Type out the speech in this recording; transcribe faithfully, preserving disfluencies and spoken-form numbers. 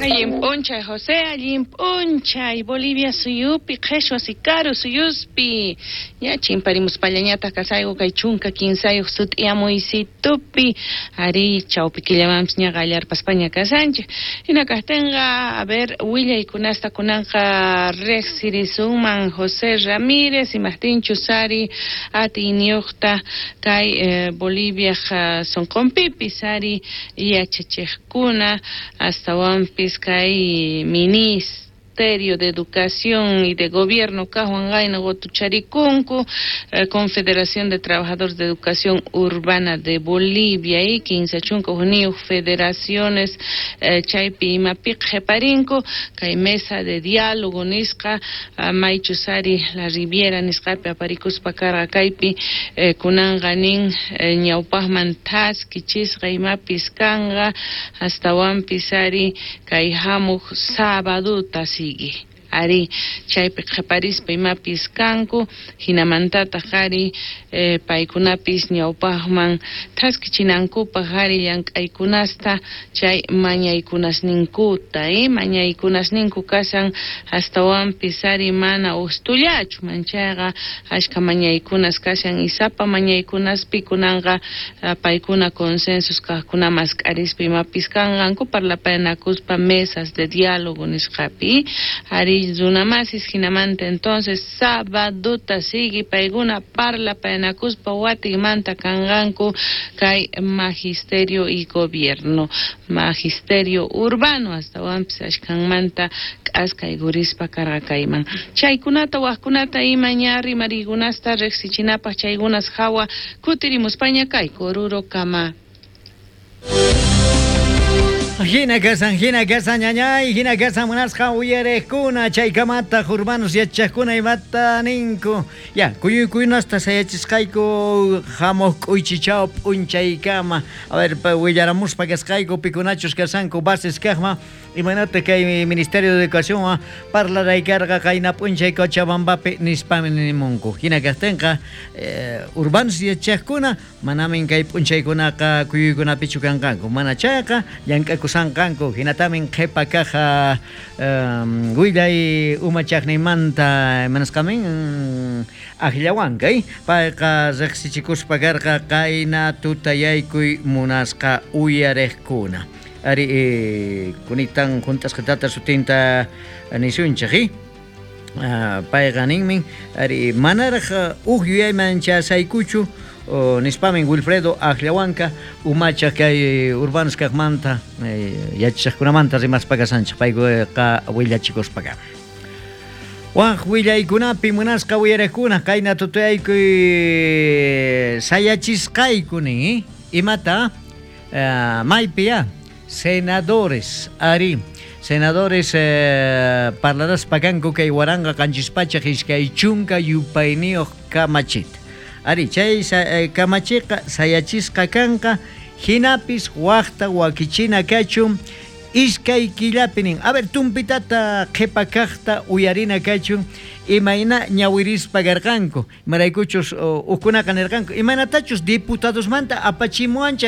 Allin p'unchay José, allin p'unchay Bolivia suyupi, qheshwa sikaru suyuspi. Ña chimparimuspallañataq kasayku kay chunka kinsayuq sut'iyamuysitupi. Ari chawpi killamanpis ña qallarpaspaña kasanchik. Hina kaqtinqa, a ver, willaykunasta kunanqa riqsirisunman José Ramírez, imaqtinchus ari atiyniyuqta kay eh, Boliviaj uh, sunqunpipis ari yachachiqkuna astawanpis kay Ministerio de Educación y de Gobierno kaqwan qayna qutucharikunku eh, Confederación de Trabajadores de Educación Urbana de Bolivia y kinsa chunka hukniyuq federaciones eh, chaypi imapi qhiparinku kay mesa de diálogo nisqa uh, maychus ari la Riviera nisqapi aparikuspa karqa kaypi eh, kunanqa nin eh, ñawpaqman thaskichisqa imapis kanqa astawanpis ari kay hamuq sabaduta sigui ari chaypi qhiparispa imapis kanku hinamantataq ari eh, paykunapis ñawpaqman thaskichinankupaq ari llank'aykunasta chay mañaykunasninkuta eh, mañaykunasninku kashan astawanpis ari mana ustullachu manchayqa ashka mañaykunas kashan isapa mañaykunaspi kunanqa uh, paykuna consensos kaqkuna mask'arispa imapis kanqanku parlapayanakuspa mesas de diálogo nisqapi ari runamasis hinamanta entonces sabaduta sigui paykuna parlapayanakuspa watikmanta kanqanku kay magisterio y gobierno magisterio urbano astawanpis ashkanmanta k'askaykurispa karqa kayman chaykunata waqkunata ima ña rimariykunasta riqsichinapaq chaykunas hawa kutirimuspaña kayku Oruro kama. Hina kasan, hina kasan, ñañay, hina kasan munasqa uyariqkuna, chaykamata urbanos yachaqkuna imata ninku. Ya, kuyuykunasta sayachisqayku hamuq k'uychichaw p'unchaykama. A ver, willaramuspa kasqayku pikunachus kasanku bases kaqma, imaynata kay Ministerio de Educación parlaraykarqa qayna p'unchay Cochabambapi nispami nimunku. Hina kaqtinqa eh, urbanos yachaqkuna manamin kay p'unchaykunaqa kuyuykunapichu kanqanku. Mana chayqa llank'akusanqanku hinatamin qhipa kaja um, willay umachaqninmanta manasqamin akllawanka eh? Payqa riqsichikuspa karqa qayna tutayaykuy munasqa uyariqkuna. Ari eh, kunitan juntasqa tata sutinta nisunchik eh? Uh, payqa ninmin ari manaraq uj yuyayman chasaykuchu uh, nispamin Wilfredo Akllawanka umachaq kay urbanos kaqmanta eh, yachaqkunamanta rimaspa kasanchik payqa willachikuspa. Waj willaykunapi munasqa uyariqkuna qayna tutayaykuy sayachisqayku nin eh? Imata uh, maypi ya senadores ari senadores eh, parlaraspa kanku kay waranqa qanchis pachak iskay chunka yupayniyuq kamachita ari chay eh, kamachiqa sayachisqa kanqa hinapis waqta wakichina kachun iskay killapi nin. A ver, tumpitata qhipa kaqta uyarina kachun imayna ñawirispa karqanku imaraykuchus ukkunaqa nirqanku imaynatachus diputadosmanta apachimuanchik.